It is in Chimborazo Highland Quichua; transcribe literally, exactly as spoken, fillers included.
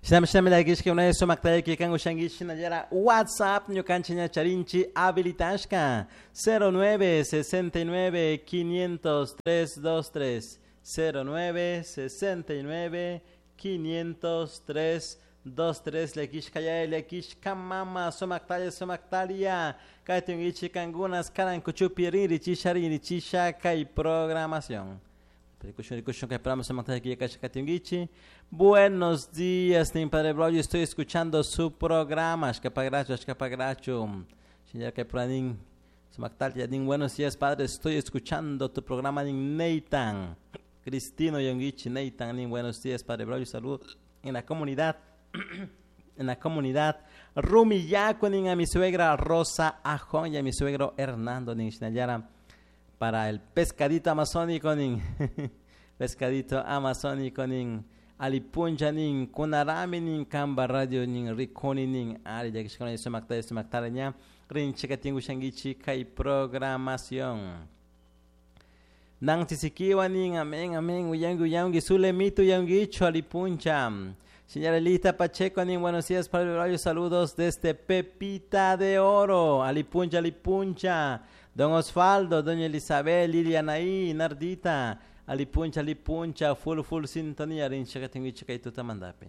Shinami shinami llakishka unay sumaktayki kan ushankichik shinallara WhatsApp ñukanchik ña charinchik habilitashka cero nueve sesenta y nueve quinientos tres dos tres cero nueve sesenta y nueve quinientos tres dos tres llakishka yaya llakishka mama sumaktalla sumaktaria kaytunkichik kankunas karan kuchupi rinrichisha rinrichisha kay programación. Rikushun, rikushun, kay programa sumaktalla kasha katunkichik. Buenos días, nin Padre Braulio, estoy escuchando su programa. Ashkapagracho, ashkapagracho. Señor kay pranin sumaktalla nin buenos días, padre, estoy escuchando tu programa nin Nathan. Cristino Yonguichi, Nathan nin buenos días, Padre Braulio, saludos en la comunidad. En la comunidad Rumiyaco nin a mi suegra Rosa Ajón y a mi suegro Hernando nin Shinayara para el pescadito amazónico nin pescadito amazónico nin alipuncha nin kunarami nin kamba radio nin rikuni nin ari yakishkuna sumaktari sumaktari ña rinchika tingu shankichi kay programación. Nancy Sikiwa nin amén amén uyangi uyangi sulemito uyangicho alipuncha. Señora Elita Pacheco, nin buenos días, Padre Braulio, saludos desde Pepita de Oro, Alipuncha, Alipuncha, Don Osvaldo, Doña Elizabeth, Lilianaí, Nardita, Alipuncha, Alipuncha, full, full sintonía, rincha, que tengo que tuta mandape.